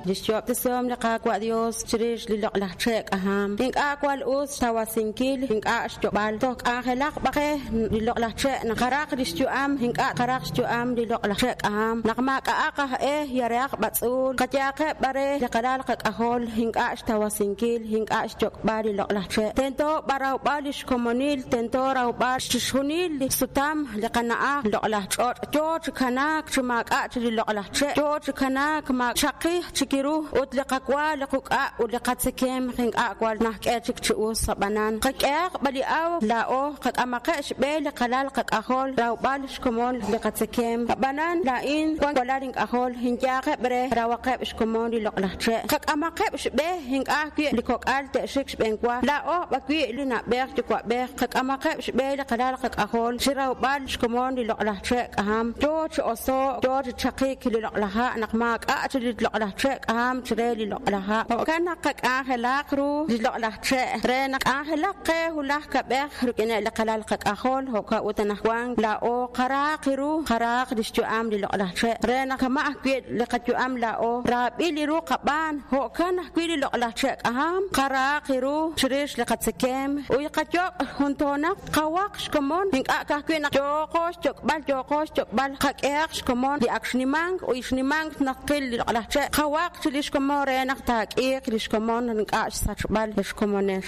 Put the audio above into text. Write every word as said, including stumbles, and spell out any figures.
Li xyo'ob'tesihom li Qaawa' Dios chirix li loq'laj che' k'aham. Ink'a' wal us xtawasinkil, ink'a' xyok'b'al. Toj k'anjelaq b'a qe li loq'laj che' naq qaraq li xyu'am, ink'a' qaraq xyu'am li loq'laj che' k'aham. Naq maak'a'aq aj e yarehaq b'atz'uul, qayaaqeb' b'are li qalal qak'ajol, ink'a' xtawasinkil, ink'a' xyok'b'al li loq'laj che'. Tento b'arawb'al li xkomonil, tento rawb'al chixjunil li sutam li qana'aj loq'laj ch'och'. Yo chi kanaak chi maak'a' chi li loq'laj che', yo chi kanaak ma chaqij chikiru ut li qawa li quk'a' ut li qatzekem ink'a' wal najk'e chik chi us ab'anan. Qak'ehaq b'a li aw laa'o qak'amaqe' xb'e li qalal qak'ajol rawb'al xkomon li qatzekem. Ab'anan laa'in wan walal ink'ajol inyaaqeb' re rawaqeb' xkomon li loq'laj che'. Qak'amaqeb' xb'e ink'a' ajwi' li kok'al te'xik xb'enwa. Laa'o b'awi' li na'b'ej yuwa'b'ej qak'amaqeb' xb'e li qalal qak'ajol chi rawb'al xkomon li loq'laj che' k'aham. Yo chi oso' yo chi chaqik li loq'laj ha' naq maak'a' chi li loq'laj che' k'aham chire li loq'laj ha'. Jo'kan naq qak'anjelaq ru li loq'laj che' re naq k'anjelaq qe hulaj kab'ej rik'ineb' li qalal qak'ajol jo'kan ut anaqwan laa'o qaraaq ru qaraaq li xyu'am li loq'laj che' re naq kama' ajwi' li qayu'am laa'o raab'il li ru qab'aan jo'kan ajwi' li loq'laj che' k'aham qaraaq ru chirix li qatzekem uy qayok' juntoonaq qawaq xkomon ink'a' ka'ajwi' naq yooqo xyok'b'al yooqo xyok'b'al qak'ehaq xkomon li ak xnimank uy xnimank naq qil li loq'laj che' qawaq chi li xkomon re naq taak'iiq li xkomon ink'a' xsachb'al li xkomonex.